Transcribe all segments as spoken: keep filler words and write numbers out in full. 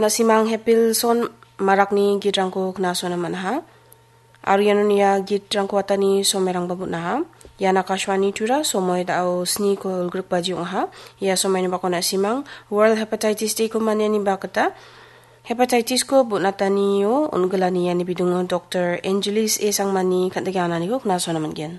Na·simang Hepilson Marakni gitrangko knasona man·aha. Aro iano nia gitrangko atani somairangba bon·aha. Ian Akashvani Tura, somoi da·o sniko ulgrikbaji ong·aha. Ia somaini bako na·simang World Hepatitis Day-ko maniani bakgita hepatitis-ko bon·atanio on·gilani iani bidingo Doktor Angelis A Sangmani kan·dike ananiko knasona man·gen.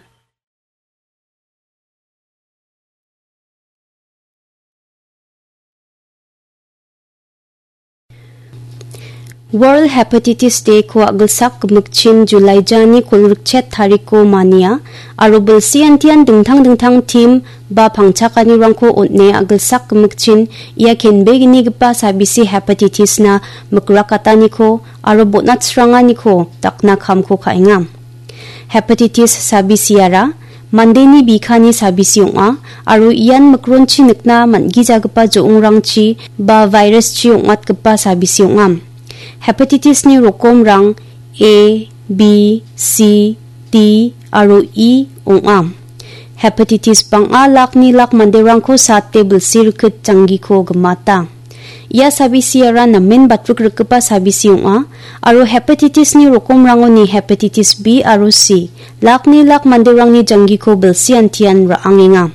World Hepatitis Day-ko a·gilsak gimikchin July jani kolgrikchet tariko mania, aro bilsi antian dingtang dingtang tim ba pangchakanirangko on·e a·gilsak gimikchin ia kenbeginigipa sabisi hepatitis-na mikrakataniko aro bon·atsranganiko dakna kamko ka·enga. Hepatitis sabisiara mandeni bikani sabisi ong·a, aro ian mikronchi nikna man·gijagipa jo·ongrangchi ba virus-chi ong·atgipa sabisi ong·a. Hepatitis-ni rokomrang A, B, C, D aro E ong·a. Hepatitis bang·a lakni lak manderangko sate bilsi rikit janggiko gimata. Ia sabisiara namen batrik rikgipa sabisi ong·a, aro hepatitis-ni rokomrangoni hepatitis B aro C, lakni lak manderangni janggiko bilsi antian ra·angenga.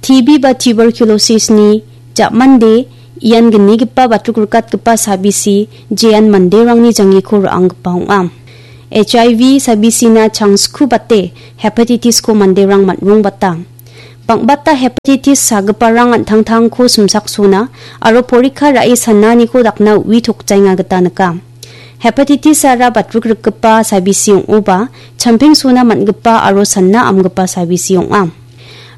T B ba tuberculosis-ni ja·mande ian gnigipa batrik rikatgipa sabisi, jean manderangni janggiko ra·anggipa ong·a. H I V sabisina changskubate hepatitis-ko manderang man·rongbata. Bang·bata hepatitis sagiparang an·tangtangko simsaksona aro porikka ra·e sananiko dakna u·i tokjaenga gita nika. Hepatitis-ara batrik rikgipa sabisi ong·oba, champengsona man·gipa aro sana amgipa sabisi ong·a.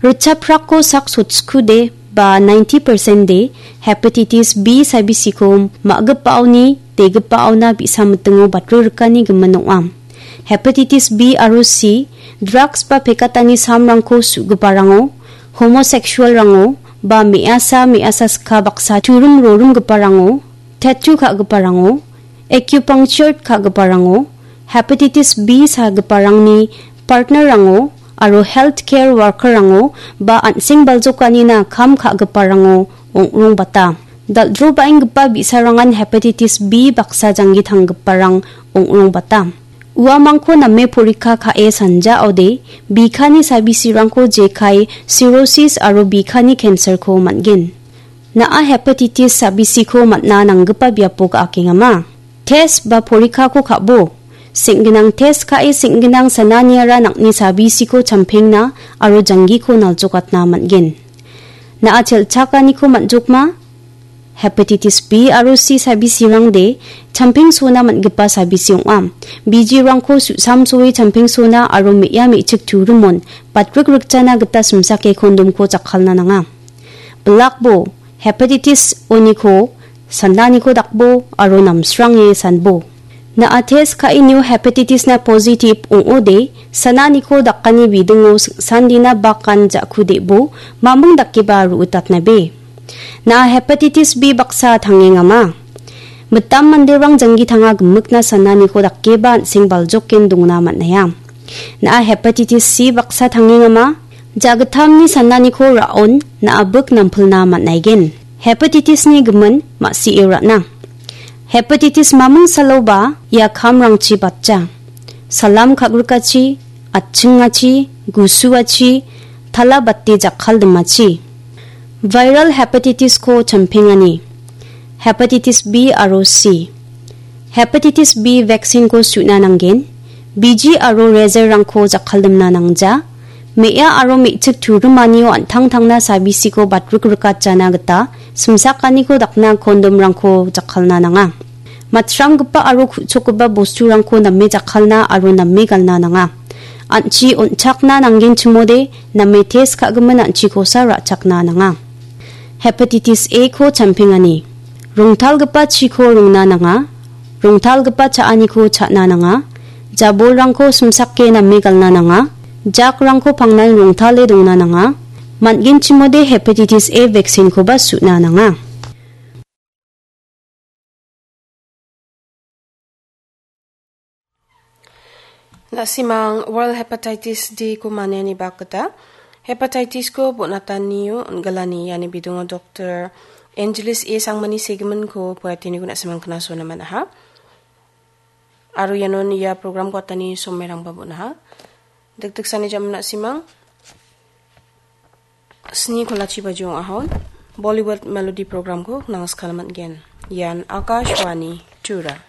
Ritchaprako sak sotskude ba ninety percent-de hepatitis B sabisiko ma·gipaoni, degipaona bi·sa mitingo batrik rikani gimin ong·a. Hepatitis B aro C, drugs ba pekatani samrangko su·giparango, homosexual-rango, ba me·asa me·asa ska baksa turum rorum giparango, tattoo ka·giparango, acupuncture ka·giparango, hepatitis B sagiparangni partner-rango aro healthcare worker-rango ba an·seng baljokanina kam ka·giparango ong·rongbata. Dal·drobaenggipa bi·sarangan hepatitis B baksa janggi tanggiparang ong·rongbata. Uamangko name porikka ka·e sanjaode, bikani sabisirangko jekai cirrhosis aro bikani cancer-ko man·gen. Na·a hepatitis sabisiko man·a nanggipa biapo ga·akengama? Test ba porikkako ka·bo. Seng·ginang test ka·e seng·ginang sananiara nang·ni sabisiko champengna aro janggiko naljokatna man·gen. Na·a chelchakaniko man·jokma? Hepatitis B aro C sabisirangde champengsona man·gipa sabisi ong·a. Bijirangko su·samsoe champengsona aro me·a me·chik turimon batrik rikjana gita simsake kondomko jakkalna nanga. Bilakbo, hepatitis oniko, sandaniko dakbo aro namsrange sanbo. Na·a test ka·enio hepatitis-na positive ong·ode, sananiko dakani bidingo sandina bakan ja·kudebo, mamung dakeba ru·itatnabe. Na·a hepatitis B baksa tangengama. Mitam manderang janggi tanga gimikna sananiko dakeba an·seng baljoken dongna man·aia. Na·a hepatitis C baksa tangengama. Jagittamni sananiko ra·on na·a bik nampilna man·aigen. Hepatitis-ni gimin ma·sie ra·na. Hepatitis maming saloba ia kamrangchi batja. Salam ka·grikachi, atchingachi, gusuachi, tala bate jakkaldimachi. Viral hepatitis-ko champengani. Hepatitis B aro C. Hepatitis B vaccine-ko su·na nanggen. Biji aro razor-rangko jakkaldimna nangja. Me·a aro me·chik turimanio an·tangtangna sabisiko batrik rikatjana gita simsakaniko dakna kondomrangko jakkalna nanga. Matranggipa aro ku·chokgipa bosturangko name jakkalna aro name galna nanga. An·chi on·chakna nanggenchimode name test ka·gimin an·chikosa ra·chakna nanga. Hepatitis A-ko champengani. Rongtalgipa chiko rongna nanga. Rongtalgipa cha·aniko cha·na nanga. Jabolrangko simsake name galna nanga. Jakrangko pangnan rongtale dongna nanga. Man·genchimode hepatitis A vaccine-koba su·na nanga. Na·simang World Hepatitis Day-ko maniani bakgita hepatitis-ko bon·atanio on·gilani iani bidingo Doktor Angeles A Sangmani segiminko poetiniko na·simang knaso naman aha. Aro ianon ia program ko atani somerangba bon aha. Dikdiksani jaman na·simang sni kolachi baji ong ahon Bollywood Melody program ko nangskalaman gen. Ian Akashvani Tura.